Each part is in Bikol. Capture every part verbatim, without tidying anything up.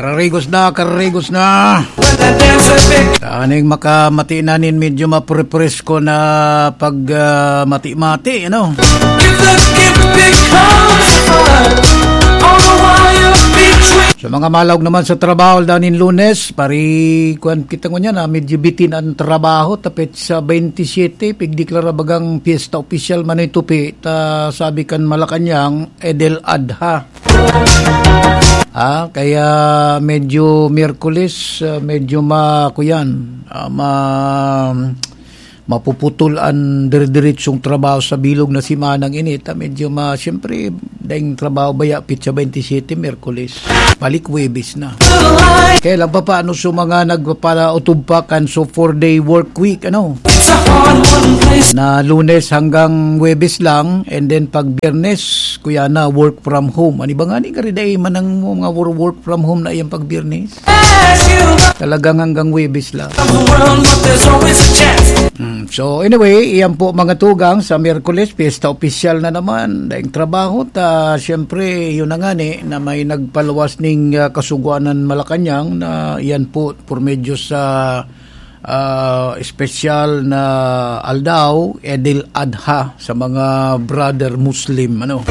Karigos na, karigos na. Taning makamati na nin medyo maprepresko na pag, ah, mati-mati, ano? Sa mga malaog naman sa trabaho, danin Lunes, pari, kuwan kita ngunyan, ah, medyo bitin ang trabaho, tapit sa twenty-seven, pigdeklara bagang piyesta opisyal man ito, pi, ta sabi kan Malacañang, Eid al-Adha. Ah, kaya medyo Miyerkules, ah, medyo ma-, kuyan, ah, ma-, mapuputol an dire-diretsong trabaho sa bilog na simanang ini. Ta medyo ma-, siyempre, daing trabaho baya, petsa twenty-seven, Miyerkules. Balik Huwebes na. Kaya lang pa, paano sa mga nagpapalaotob pa kan so four-day work week, ano? Na Lunes hanggang Huwebes lang, and then pag Biyernes, kuya na, work from home. Ano ba nga ni, gari dai man ang mga wor-, work from home na iyang pag Biyernes? Talagang hanggang Huwebes lang. Hmm, so anyway, iyan po mga tugang, sa Miyerkules, piyesta opisyal na naman. Daing trabaho, ta, siyempre, yun na nga ni, na may nagpaluwas ning, ah, Kasugoanan Malacañang na iyan po, por medyo sa ah, espesyal na aldaw, Eid al-Adha, sa mga brother Muslim, ano.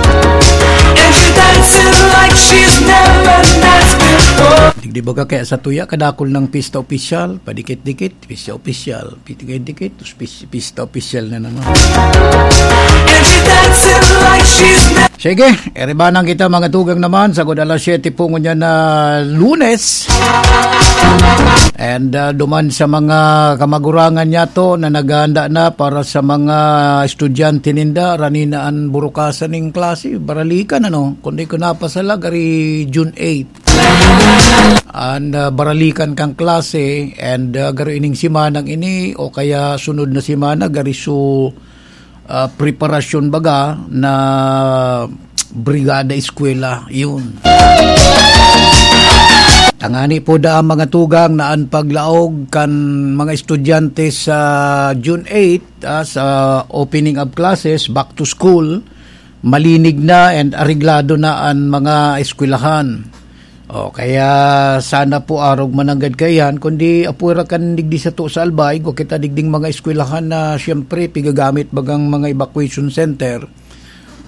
And she dancing like she's never danced before. Digdi baga kaya sa tuya, kadakol ng pista opisyal, padikit-dikit, pista opisyal, padikit-dikit, tapos pis-, pista opisyal na naman. And she dancing like she's never Sige, iribanan kita, mga tugang naman, sagod alas siyete po ngunyan na Lunes. And, ah, duman sa mga kamagurangan niyato na naghahanda na para sa mga estudyante ninda, rani na an burukasan ning klase, baralikan, ano, kundi ko napasala, gari June eight. And, ah, baralikan kang klase, and, ah, garo ining simanang ini, o kaya sunod na simana, gari su, ah, preparasyon baga na brigada eskwela, yun. Tangani po da ang mga tugang na an paglaog kan mga estudyante sa June eight, ah, sa opening of classes, back to school, malinig na and areglado na an mga eskwelahan. O, kaya sana po arog mananggad kaiyan, kundi apwera kan digdi sato sa Albay, igwa kita digding mga eskwelahan na siyempre pigagamit bagang mga evacuation center.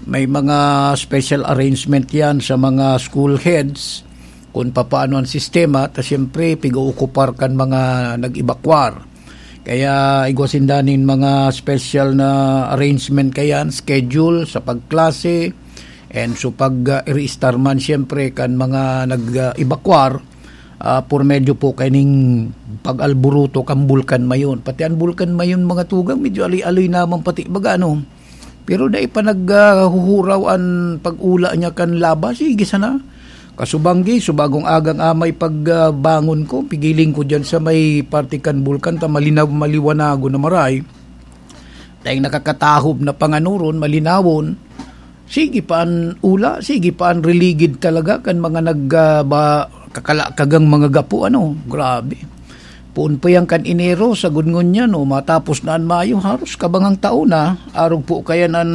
May mga special arrangement yan sa mga school heads kung papaano ang sistema, ta siyempre piga-okupar kan mga nag-evacuar. Kaya igwa sinda nin mga special na arrangement kayan, schedule sa pagklase, and so pag, ah, i-restart man siyempre kan mga nag-evacuar, ah, por medyo po kaining pag-alburuto kan Bulkan Mayon. Pati ang Bulkan Mayon, mga tugang, medyo aloy-aloy naman pati baga, ano. Pero dai pa naghuhuraw an pag-ula niya kan laba. Sige sana. Kasubanggi, subagong agang amay pag, ah, bangon ko, pigiling ko diyan sa may parte kan bulkan ta malinaw, maliwanagon na maray. Dahil nakakatahob na panganoron, malinawon. Sige pa an ula, sige pa an riligid talaga kan mga nag, ah, ba, kakalakagang mga gapo, ano. Grabe. Poon pa yan kan Enero, sagod ngunyan, o matapos na an Mayo, haros kabangang taon na, arog po kaya nan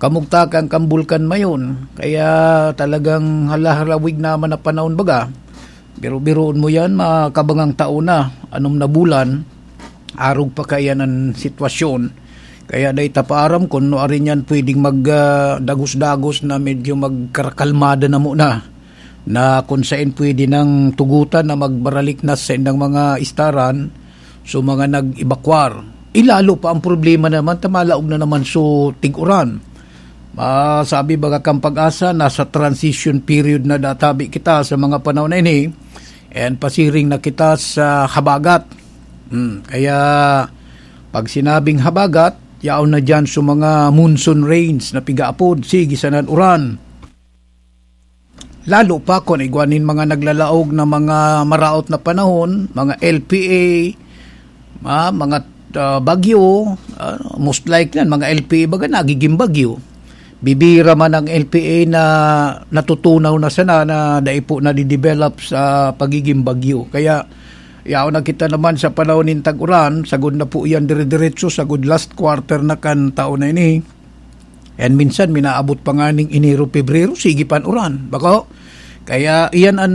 kamugtakan kan Bulkan Mayon. Kaya talagang halaharawig naman na panahon baga. Biro-biroon mo yan, makabangang taon na, anom na bulan, arog pa kaya nan sitwasyon. Kaya dai ta pa aram kun no arin yan pwedeng mag, ah, dagos-dagos na medyo magkarakalmada na muna. Na kung sain pwede nang tugutan na magbaralik na sa saindang mga istaran, so mga nag-evacuar. Ilalo pa ang problema naman, ta malaog na naman so tig-uran. Ah, sabi baga kan Pag-asa, nasa transition period na databi kita sa mga panahon na ini, and pasiring na kita sa habagat. Hmm, kaya pag sinabing habagat, yaon na dyan sa mga monsoon rains na pigaapod, sige sanan uran. Lalo pa kun igwa nin mga naglalaog na mga maraot na panahon, mga L P A, ah, mga, ah, bagyo, ah, most likely yan, mga L P A baga nagiging bagyo. Bibira man ang L P A na natutunaw na sana na dai po nadidevelop sa pagiging bagyo. Kaya, yaon na kita naman sa panahon nin tag-uran, sagod na po yan dire-diretso, sagod last quarter na kan taon na ini. And minsan, minaabot pa nga ning Enero, Pebrero, sige pa an uran. Bako? Kaya iyan an,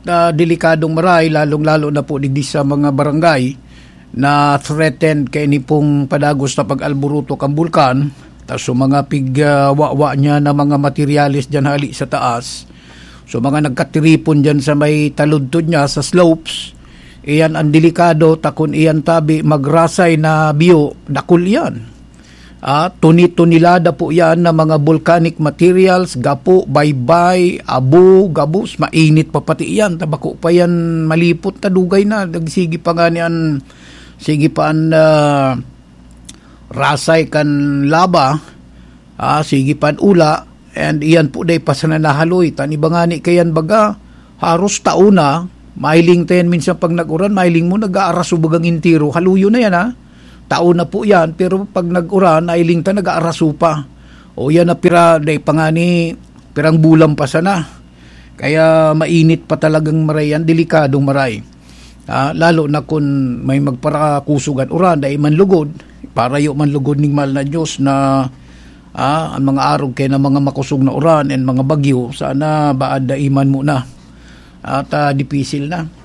ah, delikadong maray, lalong-lalo na po digdi sa mga barangay na threatened kaini pong padagos na pag-alboroto kan bulkan. Tas so mga pig, ah, wawa niya na mga materyales diyan hali sa taas. So mga nagkatiripon diyan sa may taludtod niya, sa slopes, iyan ang delikado, ta kun iyan tabi magrasay na biyo, dakul iyan. Ah, tuni-tonelada po yan na mga volcanic materials, gapo, baybay, abo, gabos, mainit pa pati iyan. Ta bako pa yan malipot, ta dugay na. Nagsige pa nga ni an, sige pa an, ah, rasay kan laba, ah, sige pa an ula, and iyan po dai pa sana nahaloy. Tan iba ngani kayan baga, haros tao na, mahiling ta yan minsan pag nag-uran, mahiling mo nag-aaraso bagang entero, haloyo na yan, ha. Tao na po yan, pero pag nag-uran, nailing ta, nag-aaraso pa. O yan na pira, dai pa nga ni, pirang bulan pa sana. Kaya mainit pa talagang maray yan, delikadong maray. Ah, lalo na kun may magparakusog an uran, dai man lugod, parayo man lugod ning mahal na Diyos na, ah, ang mga arog kaya na mga makosog na uran and mga bagyo, sana baad dai man muna. At, ah, dipisil na.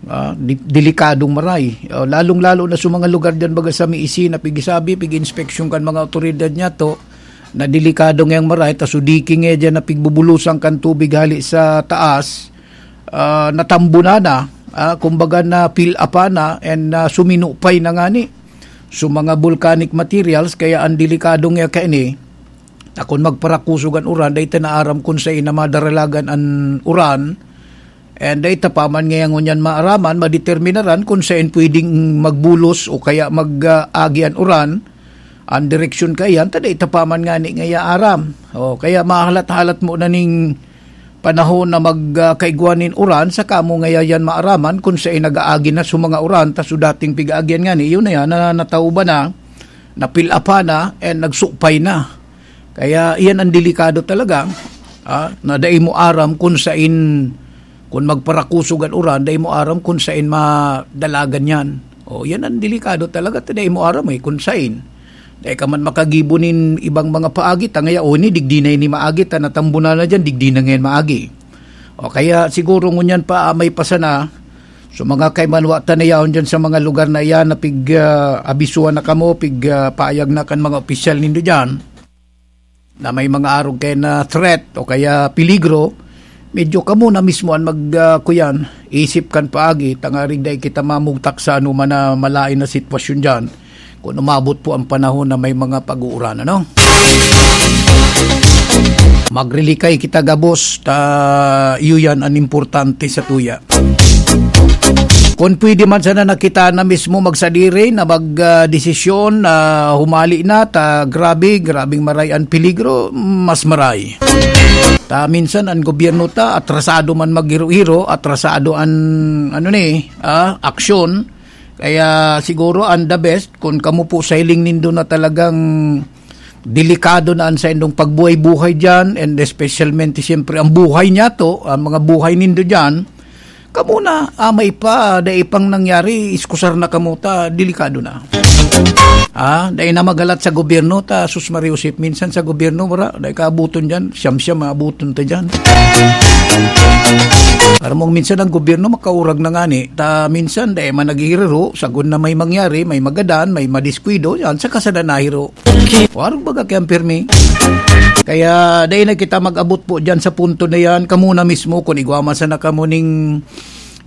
Ah, di-, delikadong maray. Ah, lalong-lalo na sa mga lugar diyan, baga sa may isi na pigisabi, pig-inspeksyon kan mga awtoridad niya to, na delikado ngayang maray, ta so diki nga diyan na pigbubulosan kan tubig hali sa taas, ah, natambunan na, ah, kumbaga na fill up na, and, ah, suminupay na ngani. So mga volcanic materials, kaya ang delikado nga kaini, ta kun magparakusog an uran, dai ta naaram kun saen na madaralagan an uran, and dai ta pa man ngaya ngunyan maaraman, madeterminaran kun saen pwedeng magbulos o kaya mag, ah, agi an uran, an direksyon kaiyan, ta dai ta pa man ngani ngaya aram. O, kaya mahalat-halat mo na ning panahon na mag, ah, kaigwa nin uran, saka mo ngaya yan maaraman kun saen nag-aagi na so mga uran, ta so dating pig-aagian ngani, yun na yan, na natauban na, napil-apa na, and nagsupay na. Kaya iyan ang delikado talaga, ah, na dai mo aram kun sain, kun magparakusog an uran, dai mo aram kun sain madalagan yan. O, yan ang delikado talaga, ta dai mo aram eh, kun sain. Dai ka man makagibo nin ibang mga paagi, ta ngaya, o, ini, digdi na ini maagi, ta natambunan na diyan, digdi na ngayon maagi. O kaya siguro ngunyan pa, ah, may pasana, so mga kaimanwa ta na yaon dyan sa mga lugar na iyan na pig, ah, abisuhan na kamo, pig, ah, paayag na kan mga opisyal nindo dyan, na may mga arog kayo na threat o kaya peligro, medyo kamo na mismo an mag, ah, kuyan, isip kan paagi, tangarig dai kita mamugtak sa anuman na malain na sitwasyon dyan. Kung umabot po ang panahon na may mga pag-uuran, ano? Magrilikay kita gabos, ta iyo yan ang importante sa tuya. Kung pwede man sana na kita na mismo magsadiri na mag, ah, desisyon na humali na, ta grabe, grabing maray ang peligro, mas maray. Ta minsan ang gobyerno ta, atrasado man maghiro-hiro, atrasado an, ano ni, ah, aksyon. Kaya siguro ang the best, kung kamo po sa hiling nindo na talagang delikado na ang saindong pagbuhay-buhay diyan, and especialmente siyempre ang buhay niyato, ang mga buhay nindo diyan, kamo na, ah, may pa, dai pang nangyari, iskusar na kamo ta, delikado na. Ah, dai na magalat sa gobyerno ta, sus Maria Josep, minsan sa gobyerno, wala, dai kaabuton diyan, siyam-siyam maabuton ta diyan. Aram mong minsan ang gobyerno makaurag na ngani, ta minsan dai man naghihiriro, sagkod na may mangyari, may magadan, may madiskwido, yan, saka sana nahiro. Warog baga kayang pirmi. Kaya dai na kita mag-abot po diyan sa punto na yan. Kamo na mismo, kung igwa man sana kamo ning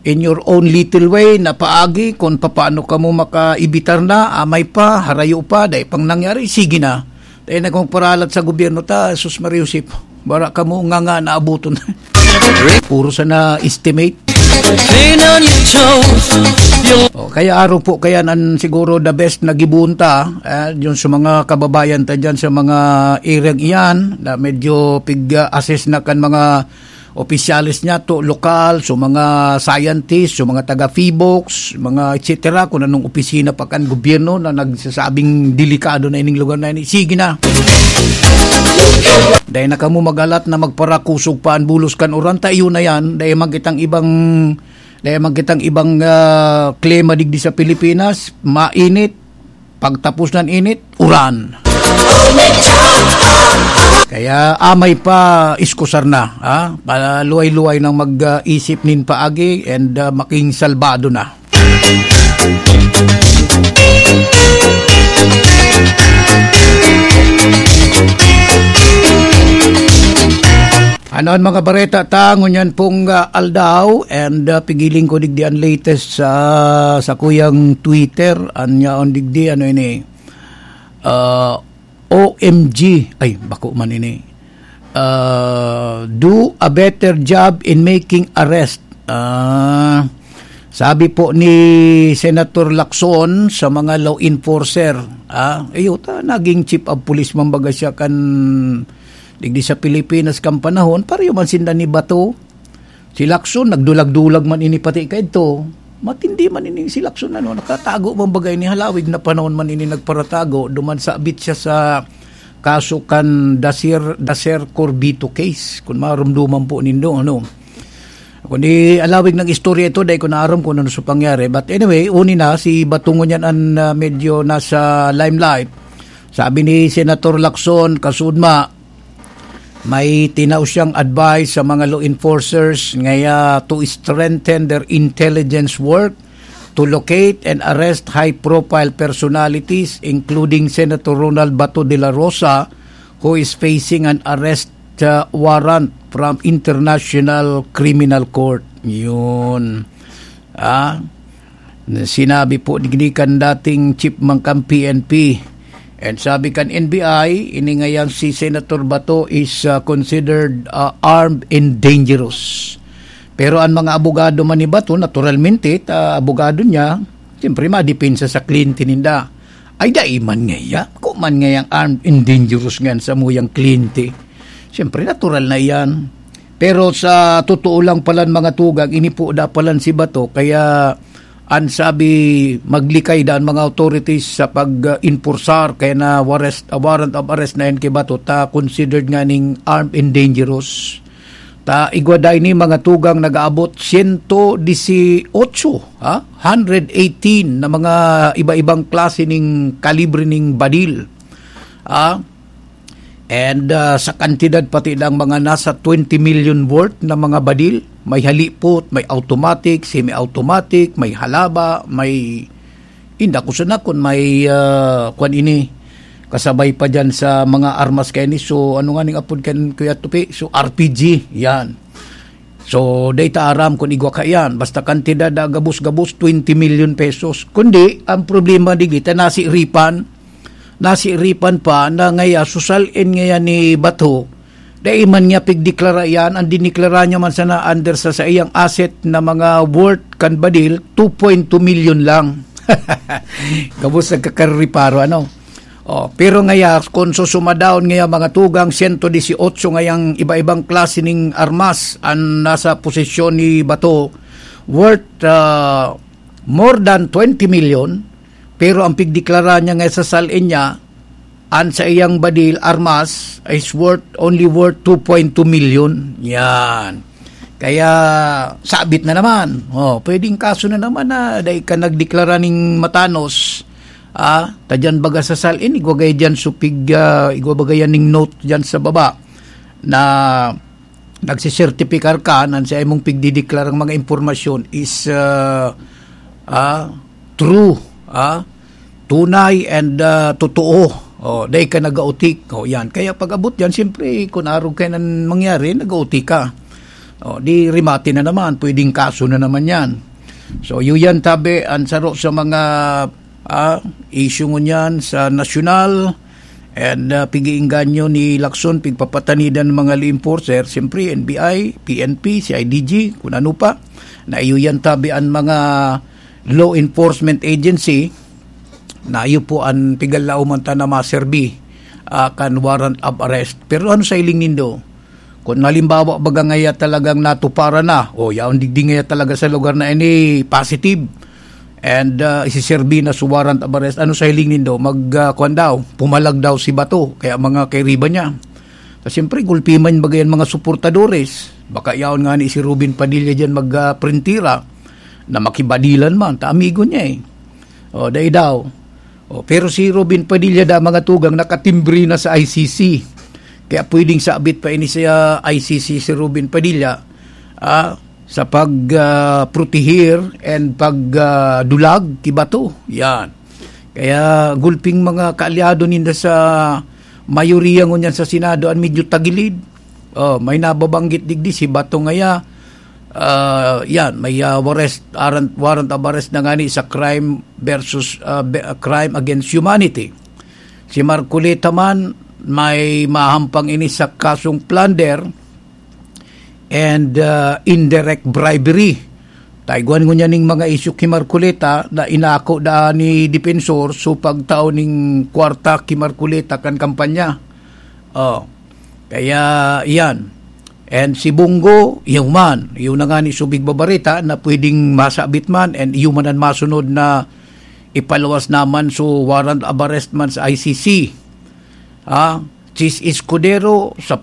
in your own little way na paagi, kung papaano kamo makaibitar na, amay pa, harayo pa, dai pang nangyari, sige na. Dai na kung paralat sa gobyerno ta, sus Maria Josep. Bara kamo nga nga naabuton. Puro sana estimate. Clean on your toes. Your O, kaya araw po, kaya nan siguro the best na gibuon ta, eh, yun sa mga kababayan ta dyan, sa mga area iyan, na medyo pig-assess na kan mga opisyales niya to, lokal, so mga scientist, so mga taga PHIVOLCS, mga et cetera, kung anong opisina pa kan gobyerno na nagsasabing delikado na ining lugar na ini. Sige na. Dai na kamo magalat na magparakusog pa an bulos kan uran, ta iyo na yan. Dai man kitang ibang, dai man kitang ibang, ah, klima digdi sa Pilipinas, mainit, pagtapos nan init, uran. Kaya amay pa iskusar na, ha? Paluway-luway nang mag-isip nin paagi and, ah, making salbado na. Ano an mga bareta ta ngunyan pong, ah, aldaw? And, ah, pigiling ko digdi an latest sa, sa kuyang Twitter. An yaon digdi, ano ini? Ah, O M G. Ay, bako man ini. Ah, do a better job in making arrest. Ah, sabi po ni Senator Lacson sa mga law enforcer, ah, iyo ta, naging chief of police man baga siya kan digdi sa Pilipinas kan panahon, pareho man sinda ni Bato. Si Lacson, nagdulag-dulag man ini pati kaidto. Matindi man ini si Lacson, ano, nakatago man baga ini, halawig na panahon man ini nagparatago, duman sabit siya sa kaso kan Daser, Daser Corbito case, kung marumduman po nindo, ano. Kundi alawig ng istorya ito, dahil ko naaram kung ano sa pangyari. But anyway, uni na, si Bato ngunyan an, ah, medyo nasa limelight. Sabi ni Senator Lacson, kasudma, may tinao siyang advice sa mga law enforcers ngaya to strengthen their intelligence work to locate and arrest high-profile personalities, including Senator Ronald Bato de la Rosa, who is facing an arrest, uh, warrant from International Criminal Court. Yun. Ah, sinabi po digdi kan dating chief man kan P N P. And sabi kan N B I, ini ngayang si Senator Bato is, ah, considered, ah, armed and dangerous. Pero an mga abogado man ni Bato, naturalmente, ta abogado niya, siyempre madepensa sa kliyente ninda. Ay, dai man ngaya. Ko man ngayang armed and dangerous ngan sa muyang kliyente. Siyempre, natural na iyan. Pero sa totoo lang palan, mga tugang, ini po da palan si Bato, kaya an sabi, maglikay da an mga authorities sa pag-enforcear, kaya na warrest, warrant of arrest na yan kay Bato, ta considered nga ning armed and dangerous. Ta igwa da ini, mga tugang, nag-aabot siyento disiotso, ha? Hundred eighteen na mga iba-ibang klase ning kalibre ning badil. Ah, And, ah, sa kantidad pati ng mga nasa twenty million worth na mga badil, may halipot, may automatic, semi-automatic, may halaba, may inda ko sana kun may, ah, kwan ini, kasabay pa dyan sa mga armas kaini. So, ano nga ning apod kan Kuya Tupi? So, R P G, yan. So, dai ta aram kun igwa kaiyan. Basta kantidad na gabos-gabos, twenty million pesos. Kundi, ang problema digdi, ta nasiripan, nasiripan pa na ngaya, susal-in ngaya ni Bato, dai man niya pigdeklara iyan, ang dineklara niya man sana under sa saiyang asset na mga worth kan badil, two point two million lang. Gabos nagkakareparo, ano? Oh, pero ngaya, kung susumadaon ngaya mga tugang, siyento disiotso ngayang iba-ibang klase ning armas an nasa posisyon ni Bato, worth, ah, more than twenty million, pero ang pigdeklara niya nga sa salin niya, an sa iyang badil, armas, is worth, only worth two point two million. Yan. Kaya, sabit na naman. Oh, pwedeng kaso na naman na dai ka nagdeklara ning matanos. Ah, ta dyan baga sa salin, igwa gaya dyan supig, ah, igwa baga yan ning note dyan sa baba na nagsisertipikar ka na sa imong pigdideklarang mga impormasyon is, ah, ah, true, ah, tunay and, ah, totoo. Oh, dai ka nagautik. Oh, yan. Kaya pag-abot yan, siyempre, kung arog kayo nang mangyari, nagautik ka. Oh, di remate na naman, pwedeng kaso na naman yan. So, yun yan, tabi, ang saro sa mga, ah, issue ngunyan sa nasyonal, and, ah, pig-iingganyo ni Lacson, pigpapatanidan ng mga law enforcer, siyempre, N B I, P N P, C I D G, kung ano pa, na iyo yan, tabi, ang mga law enforcement agency, na iyo po ang pigalao man ta na maserbi, ah, kan warrant of arrest. Pero ano sa hiling nindo? Kung halimbawa, baga ngaya talagang natuparan na, o yaon digdi ngaya talaga sa lugar na ini, positive, and, ah, isiserbi na sa warrant of arrest, ano sa hiling nindo? Mag, ah, kwan daw, pumalag daw si Bato, kaya mga kairiba niya. So, siyempre, gulpi man baga yan mga suportadores. Baka yaon nga ni si Robin Padilla dyan mag, ah, printira na makibadilan man, ta amigo niya eh. O, dai daw. O, pero si Robin Padilla da, mga tugang, nakatimbre na sa I C C. Kaya pwedeng sabit pa ini sa I C C si Robin Padilla, ah, sa pag, ah, protehir and pag, ah, dulag ki Bato. Yan. Kaya gulping mga kaalyado ninda sa mayoriya ngunyan sa Senado an medyo tagilid. Oh, may nababanggit digdi si Bato ngaya. Ah, yan, may, ah, warrant, warrant, warrant of arrest na ngani sa crime versus, ah, be-, ah, crime against humanity. Si Marcoleta man, may mahampang ini sa kasong plunder and, ah, indirect bribery. Taigwan ngunyan ning mga isyu ki Marcoleta na inako da ni Defensor so pagtao ning kwarta ki Marcoleta kan kampanya. Oh. Kaya, iyan. And si Bong Go, iyo man. Iyo na ngani subig babareta na pwedeng masabit man and iyo man an masunod na ipaluwas naman so warrant of arrest man sa I C C. Ah, Chiz Escudero, sa